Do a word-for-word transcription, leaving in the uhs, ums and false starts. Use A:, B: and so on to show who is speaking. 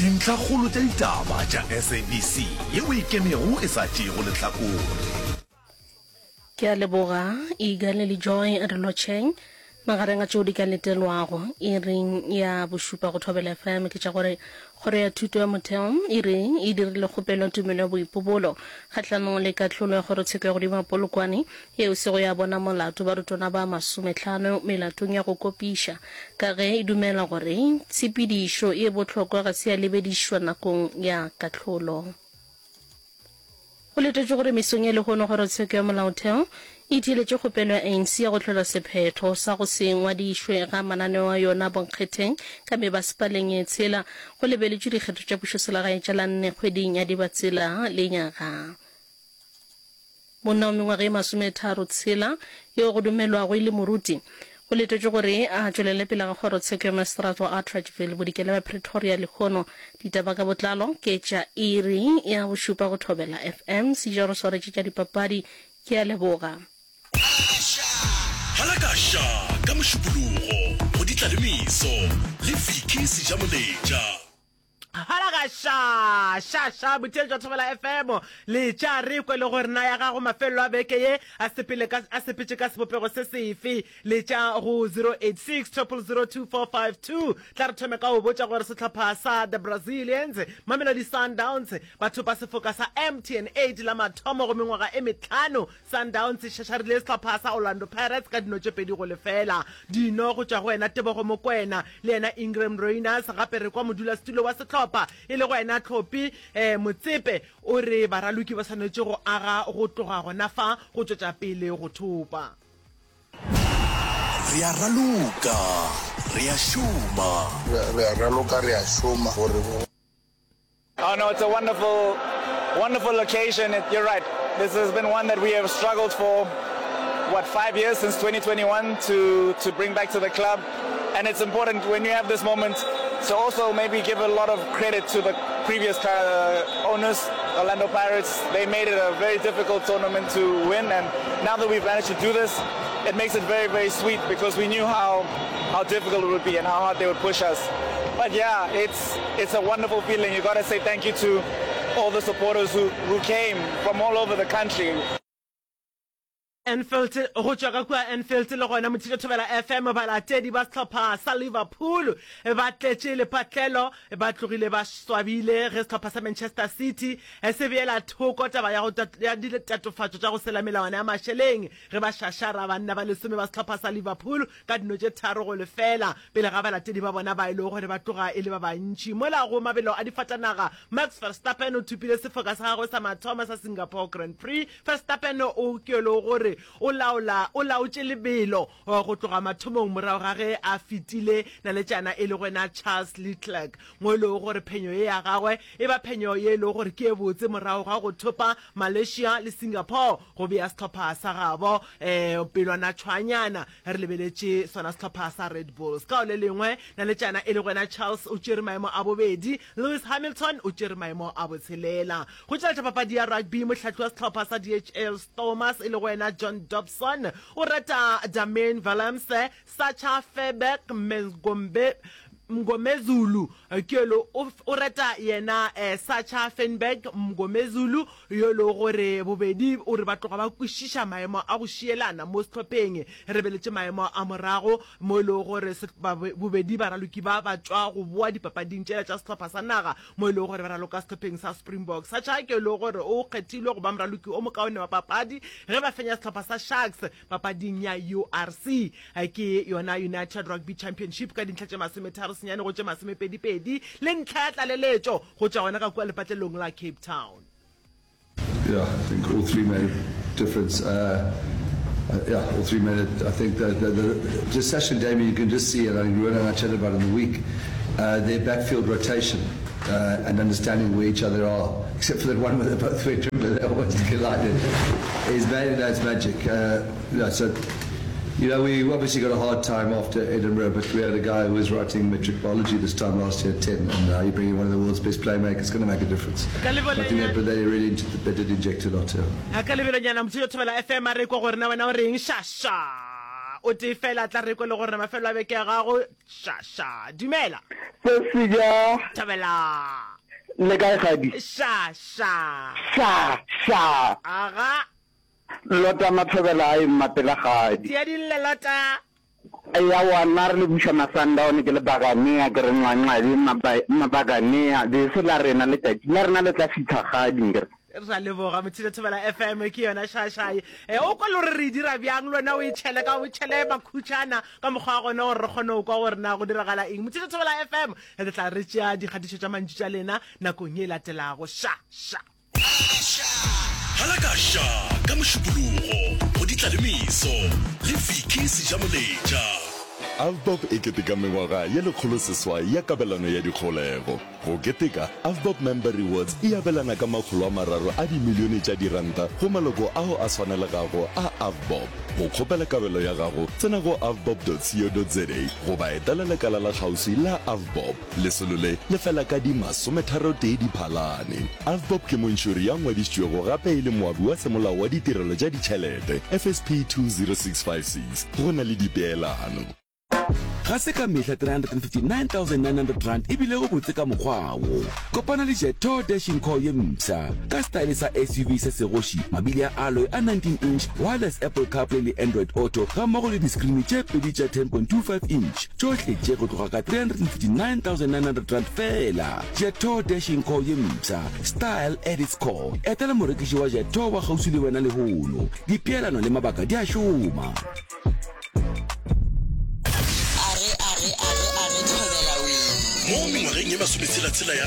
A: Dintlhakgolo tša ditaba tša S A B C yeo e kemego e sa tšeego lehlakore.
B: Ke a leboga Igale le Joy re lotšheng. Magareng a tšeo di ka letelwago iring ya bošupa go Thobela F M ke tša gore Kgoro ya Thuto ya Motheo e re e dirile kgopelo ya tumelo ya boipobolo kgahlanong le kahlolo ya Kgorotsheko ya Godimo ya Polokwane yeo e sego ya bona molato barutwana ba masomehlano melatong ya go kopiša ka ge e dumela gore tshepedišo ye bohlokwa ga se ya lebedišwa nakong ya kahlolo. Go letetšwe gore mesong ya lehono Kgorotsheko ya Molaotheo e theeletše kgopelo ya A N C ya go hlola sephetho sa go se ngwadišwe ga mananeo a yona bonkgetheng ka mebasepaleng ye tshela go lebeletšwe dikgetho tša pušoselegae tša la nne kgweding ya Dibatsela lenyaga. Monna wa mengwaga ye masometharo tshela yo go dumelwago e le moruti go letetšwe gore a tšwelele pele ga kgorotsheko ya maseterata wa Atteridgeville bodikela bja Pretoria lehono. Ditaba ka botlalo ke tša iri ya bošupa go Thobela F M. Sejaro swaretše tša dipapadi. Ke a leboga.
A: Halakaša ka Mošupologo go Ditlalemeso le Vicky Sejamoletša.
C: Halakaša ša ša motheeletši wa Thobela F M, letša re kwe le gore na ya gago mafelelo a beke ye a sepele ka a sepetše ka sebopego se sefe. Letša go zero eight six zero zero zero two four five two. Tla re thome ka go botša gore sehlopha sa the Brazilians, Mamelodi Sundowns, ba thopa sefoka sa M T N eight la mathomo go mengwaga e metlhano. Sundowns e šašarile sehlopha sa Orlando Pirates ka dino tše pedi go lefela. Dino go tšwa go wena Tebogo Mokoena le yena Iqraam Rayners. Gape re kwa modulasetulo wa sehlopha e le go wena Tlhopi um Motsepe o re baraloki ba swanetše go aga go tloga gona fa go tšwetša pele go thopa.
A: Re a raloka, re a šoma.
D: Re a raloka, re a šoma gore
E: Oh no, it's a wonderful, wonderful occasion. It, you're right. This has been one that we have struggled for, what, five years since twenty twenty-one to to bring back to the club. And it's important when you have this moment to also maybe give a lot of credit to the previous uh, owners, Orlando Pirates. They made it a very difficult tournament to win, and now that we've managed to do this, it makes it very, very sweet because we knew how how difficult it would be and how hard they would push us. But yeah, it's it's a wonderful feeling. You got to say thank you to all the supporters who, who came from all over the country.
C: Anfield, go tšwa ka kua Anfield le gona motheeletši Thobela F M, balatedi ba sehlopha sa Liverpool ba tletše lepatlelo, ba tlogile ba swabile ge sehlopha sa Manchester City se beela thoko taba ya go ya ditatofatšo tša go sela melawana ya mašeleng ge ba šašara banna ba lesome ba sehlopha sa Liverpool ka dino tše tharo go lefela pele ga balatedi ba bona ba e lego gore ba tloga e le ba bantši. Mola go mabelo a difatanaga, Max Verstappen o thopile sefoka sa gagwe sa mathomo sa Singapore Grand Prix. Verstappen o ke le gore o laola o laotše lebelo go tloga mathomong morago ga ge a fetile naletšana e le gona Charles Leclerc, mo e lego gore phenyo ye ya gagwe e ba phenyo ye e lego gore ke e botse morago ga go thopa Malaysia le Singapore go bea sehlopha sa gabo um pelwana tšhwanyana re lebeletše sona sehlopha sa Red Bulls. Ka o le lengwe naletšana e le gona Charles o tšere maemo a bobedi, Lewis Hamilton o tšere maemo a botshelela. Go tšweletša papadi ya rugby, mohlahli wa sehlopha sa D H L Stormers e le go wena John Dobson o reta Damian Willemse, Sacha Feinberg Mngombe Mngomezulu ke o o reta yena eh, Sacha Feinberg Mngomezulu yo le gore bobedi o re ba tloga ba kwešiša maemo a go šielana mo sehlopheng re beletše maemo a morago mo e lego gore bobedi baraloki ba ba tšwa go boa dipapading tšela tša sehlopha sa naga mo e lego gore ba raloka sehlopheng sa Springboks. Sacha ke e lego gore o kgethilwe go ba moraloki o mokaone wa papadi ge ba fenya sehlopha sa Sharks papading ya U R C, ke yona United Rugby Championship, ka dintlha tše masometharo senyane go tše masomepedipedi le ntlha ya tlaleletšo go tšwa gona ka kua lepatlelong la Cape Town.
F: Yeah, I think all three made a difference. Uh, uh, yeah, all three made it. I think that the, the, just Sacha and Damian, you can just see, and I think Ruan and I chatted about it in the week, uh, their backfield rotation uh, and understanding where each other are, except for that one where they both went triple, they almost collided, is made, that's magic. Uh, yeah, so, you know, we obviously got a hard time after Edinburgh, but we had a guy who was writing matric biology this time last year at ten, and now you bring in one of the world's best playmakers, it's going to make a difference. I think that, but they really, they did inject a lot, yeah.
C: Ka lebelonyana motheeletši Thobela F M, a re kwa gore na wena o reng. Šaša O tee fela tla re kwe le gore mafelo a beke ya gago. Ša ša. Dumela.
G: Sesija.
C: Thabela.
G: Le kae gadi?
C: Ša ša.
G: Ša ša.
C: Aga.
G: Lota Mathobela a ema pela gadi.
C: Tia dille Lota.
G: Eya wa nna re le buša Masandaone ke le Baganea ke re nxwanxwabi Mabaganea bese la rena letšatši la rena le tla fihla gadi nkere.
C: Ra leboga Motšhene Thobela F M ke yona šašai. E, o kwa le gore re e dira bjang le wena o e tšhele ka o tšhele makhutšana ka mokgwa wa gona gore re kgone go kwa gore na go diragala eng. Motšhene Thobela F M re tla re tšea dikgatišo tša mantšu tša lena nakong ye e latelago. Ša ša.
A: Halaka ša ka Mošupologo go Ditlalemeso le Vicky Sejamoletša.
H: Avbob e keteka mengwaga ye lekgolo seswai ya kabelano ya dikgolego. Go keteka, Avbob Member Rewards e abelana ka makgolo a mararo a dimilione tša diranta go maloko ao a swanelegago a Avbob. Go kgopela kabelo ya gago, tsena go avbob dot co dot za goba etela lekala la kgauswi la Avbob. Lesolo le le fela ka di masometharotee Diphalane. Avbob ke montšhori ya ngwadišitšwego gape e le moabi wa semolao wa ditirelo tša ditšhelete, F S P two zero six five six, go na le dipeelano.
I: Ga se ka mehla three hundred and fifty-nine thousand nine hundred rand e bilego botse ka mokgwa wo. Kopana le Jetour Dashing Core ye mpsha ka setaele sa S U V sa segoši, mabili a alloy a nineteen inch, wireless Apple CarPlay le Android Auto gammogo le diskrini tše pedi tša ten point two five inch. Tšohle tše go tloga ka three hundred and fifty-nine thousand nine hundred rand feela. Jetour Dashing Core ye mpsha, style at its core. Etela morekiši wa Jetour wa kgauswi le wena lehono. Dipeelano le mabaka di a šoma.
J: Arre, arre, arre, arre, thobela wee.
A: Mo mengwageng ye masometshela-tshela ya